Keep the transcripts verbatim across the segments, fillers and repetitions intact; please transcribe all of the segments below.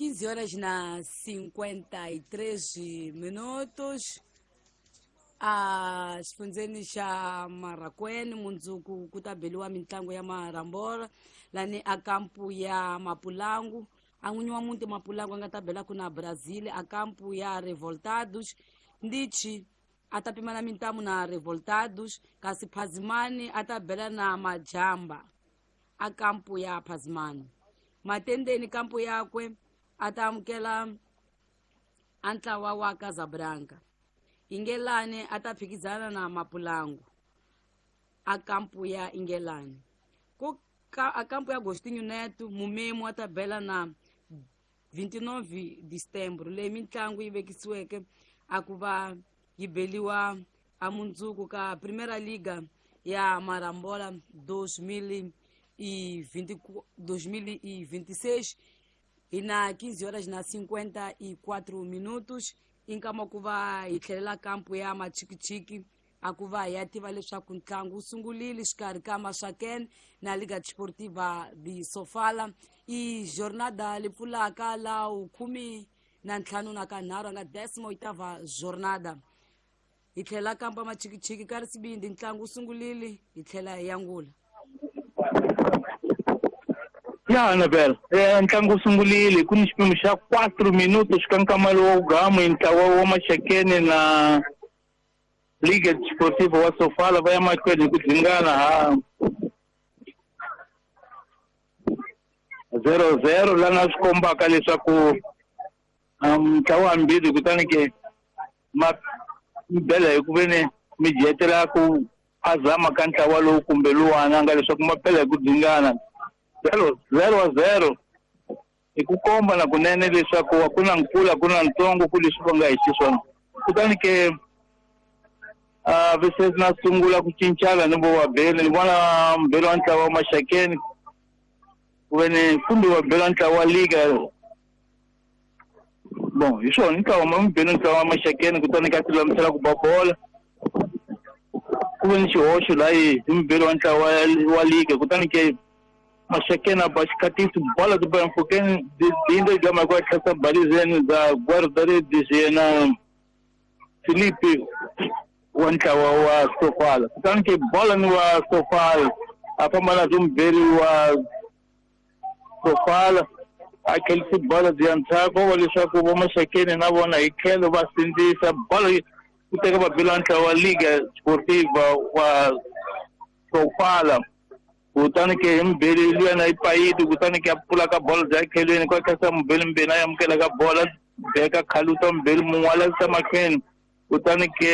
quinze horas na cinquenta e três minutos. A xifundzeni xa Marracuene mundzuku ku ta beliwa mitlangu ya marambora lani a kampu ya Mapulangu. A n'winyi wa muti Mapulangu a nga ta bela ku na Brazil a kampu ya Revoltados. Ndichi a ta pimana mintamu na Revoltados, kasi Phazimani a ta bela na Majamba a kampu ya Phazimani. Matendeni kampu yakwe a ta amukela a ntlawa wa Casablanca. Ingelani a ta phikizana na Mapulangu a kampu ya Ingelani. Ku ka a kampu ya Agostinho Neto Mumemo a ta bela na vinte e nove de setembro. Leyi mitlangu yi vekisiweke a ku va yi beliwa a mundzuku ka Primeira Liga ya Marambola dois mil e vinte e seis. Hi na quinze horas na cinquenta e quatro minutos. Inkama ku va hi tlhelela kampu ya Machikichiki a ku va hi ya tiva leswaku ntlangu wu sungulile xikarhi ka Maxakene na Liga Desportiva de Sofala. I jornada li pfulaka la khume na ntlhanu na kanharhu a nga décima oitava jornada. Hi tlhela kampu ya Machikichiki ka Risibindi ntlangu wu sungulile hi tlhela hi yangula. Ya Annabel, eh, ntlangu wu sungulile ku ni xipimo xa quatro minutos ka nkama lowu gamu ntlawa wa Maxakene na Liga Desportiva wa Sofala va ya mahlweni hi ku dzingana ha zero zero lana swi kombaka leswaku ntlawa hambirhi kutani ke ma bela hi ku veni mi jetela ku phazama ka ntlawa lowu kumbe luwana nga leswaku ma bela hi ku dzingana zero zero zero hi ku komba na kunene leswaku a ku na nkulu a ku na ntsongo ku leswi va nga hi xiswona. Kutani ke a vese na sungula ku cincana ni vo vabeli ni vona mbeli wa ntlawa wa Maxakene ku ve ni kumbe wa bela ntlawa wa Liga. Bon, hi swona ntlawa ma mubeli ntlawa wa Maxakene kutani ka ti lulamisela ku ba bola ku ve ni xihoxo laha hi mubeli wa ntlawa wa Liga kutani ke Maxakene a ba xikhatisi bola ti ba mfukeni dindo gama kwa tlhasa balizeni za guarda-redes yena Felipe wa ntlawa wa Sofala. Kutani ke bola ni wa Sofala a famba na mubeli wa Sofala a tlhelisi bola bya ndzhaku wa leswaku vo Maxakene na vona hi tlhelo va sindzisa bola ku teka vabeli wa ntlawa wa Liga Desportiva wa Sofala. Kutani ke hi mubeli luyana yi payiti kutani ke a pfula ka bola bya tlhelweni kwa tlhasa mubeli mbeni a amukela ka bola beka khaluta mubeli mun'we a lavisa mahlweni kutani ke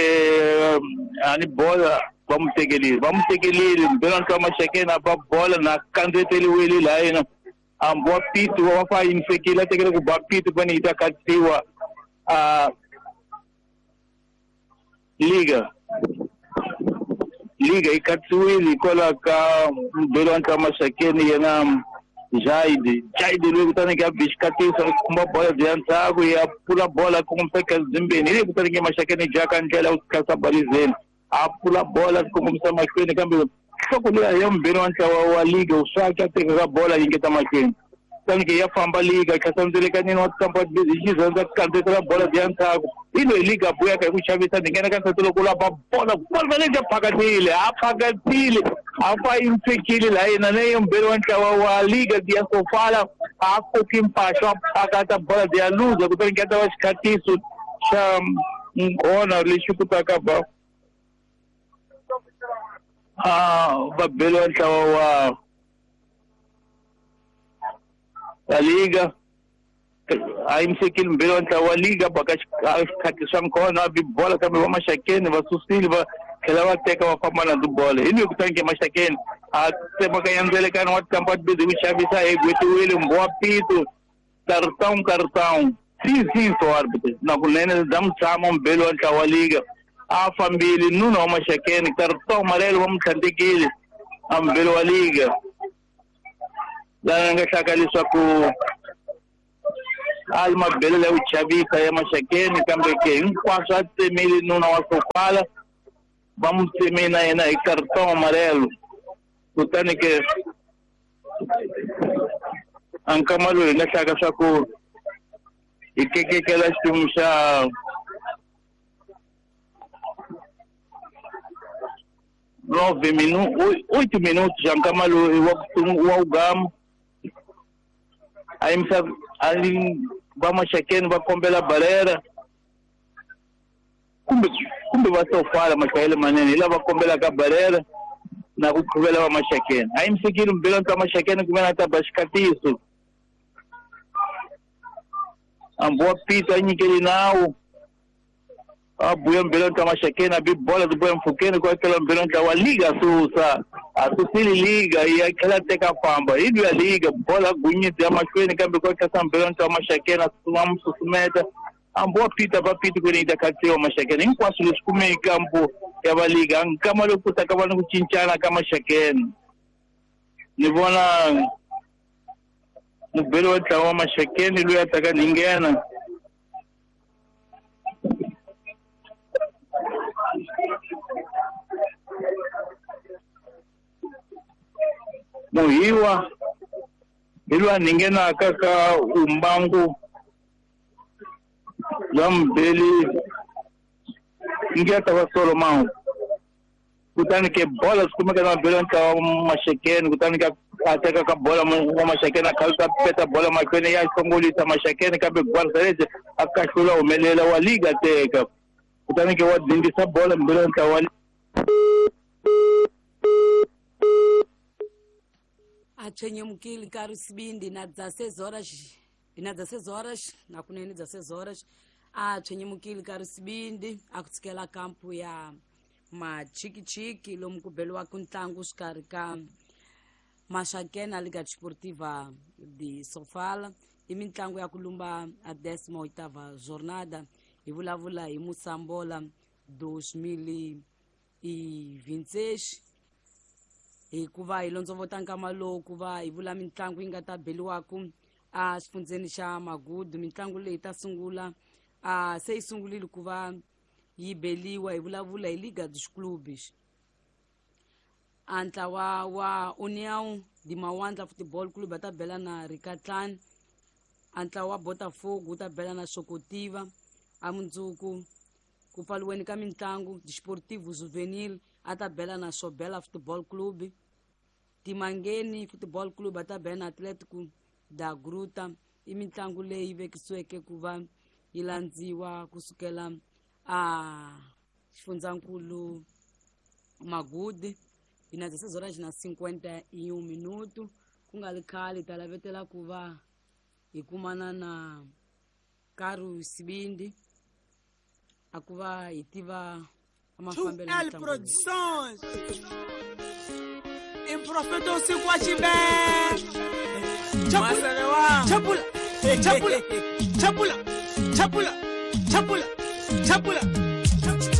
a ni bola va mu tekelile va mu tekelile mubeli wa ntlawa Maxakene a ba bola na kandzeteriwile laha yena hambi wa piti wa fa yimisekile a tekele ku ba piti ku yi ta katsiwa a Liga Liga yi katsiwile hikwalaho ka mubeli wa ntlawa Maxakene yena Jaide Jaide loyi kutani ke a bi xikatisa a khumba bola bya ndzhaku ya pfula bola kongomisa kazimbeni hi leyi kutani ke Maxakene jaka ndlela ku tlhasa balizeni a pfula bola kongomisa mahlweni kambe nhloko liya ya mubeli wa ntlawa wa Liga u swaki a teka ka bola yingeta mahlweni kutani ke ya famba Liga tlhasa ndzelekanini wa tikampa hi xizandza kandzetela bola bya ndzhaku hi loyi Liga buyaka hi ku xavisa ni nghena ka nsati loko la ba bola bola leyi phakatile a phakatile a fa yimisekile laha yena na ye mubeli wa ntlawa wa Liga ya Sofala a koki mpaxo a phakata bola bya luza kutani ke ta va xikhatiso xa nghona lexi kutaka ba a vabeli wa ntlawa wa wa Liga a yimisekile mubeli wa ntlawa wa Liga baka xikhati swa nkhona a bi bola kambe va Maxakene va susile va tlhela va teka va famba na tibola hi loyi kutani ke Maxakene a tsemakanya ndzelekano wa tikampa tibizi ku xavisa hi gwetiwile mbho wa pito cartão cartão sim sim so árbitro na kunene bya mutshama mubeli wa ntlawa wa Liga a fambile nuna wa Maxakene cartão amarelo va mu tlhandlekile a mubeli wa Liga laha nga hlaka leswaku a li mabelo ya ku chavisa ya Maxakene kambe ke hinkwaswo a tsemile nuna wa Sofala va mu tsemile na yena hi cartão amarelo kutani ke a nkama loyi hi nga hlaka swa ku Hi kekekela xiphemu xa nove minutos, oito minutos já nkama lowu wa wa ugama. A yimisa ali va Maxakeni va kombela barera kumbe kumbe va sofala machayele manene hi lava kombelaka barera na ku qhuvela va Maxakeni. A yimisekile mbelo ta Maxakeni kumbe na ta ba xikatiso. Ambu wa Pito a nyikeli nawu. A buya mbelo ta Maxakeni a bi bola ti buya mpfhukeni ku akela mbelo ntla wa liga susa. A susile liga yi tlhela teka famba. Hi luya liga bola gunyidzi ya mahlweni kambe ku akela mbelo ntla wa Maxakeni a mu susumeta. Ambu wa Pito va Pito ku ni ta khatsiwa Maxakeni hinkwaswo leswi kumeke kampo ya va liga nkama lowu ku ta ka va ni ku cincana ka Maxakeni. Ni vona mubeli wa ntlawa wa Maxakeni loyi a taka ni nghena. Muhiwa hi loyi a ni nghenaka ka umbangu bya mubeli ngi ta va Solomon. Kutani ke bola swi kumeka na mubeli wa ntlawa wa Maxakeni kutani ka a teka ka bola wa Maxakeni a khalisa peta bola mahlweni ya hlongolisa Maxakeni kambe Gwarsalese a kahlula humelela wa liga teka. Kutani ke wa dindisa bola mubeli wa ntlawa wa a tshwenyemukile nkarhi sibindi na dezesseis horas na dezesseis horas na kunene dezesseis horas a tshwenyemukile nkarhi sibindi a ku tshikela kampu ya Machikichiki lomu ku beliwaka ntlangu xikarhi ka Maxakeni na Liga Desportiva de Sofala. I mitlangu ya ku lumba a décima oitava jornada. Hi vulavula hi Moçambola dois mil e vinte e seis. Hikuva hi londzovota nkama lowu ku va hi vula mitlangu yi nga ta beliwaku a xifundzeni xa Magudu. Mitlangu leyi ta sungula a se yi sungurile ku va yi beliwa. Hi vulavula hi Liga dos Clubes. A ntlawa wa União de Mawandla Futebol Clube va ta bela na Ricatlan. A ntlawa wa Botafogo wu ta bela na Xokotiva. A mundzuku ku pfaliweni ka mitlangu Desportivo Juvenil a ta bela na Sobela Futebol Clube. Timangeni Futebol Clube a ta bela na Atlético da Gruta. I mitlangu leyi vekisiweke ku va yi landziwa kusukela a xifundzankulu Magudu. Hi na dezesseis horas na cinquenta e um minuto. Ku nga ri khale ta lavetela ku va hi kumana na Karu Sibindi a ku va hi tiva two L Productions. Improfeto usiku wa chibe. Chapula, chapula, chapula, chapula, chapula, chapula, chapula.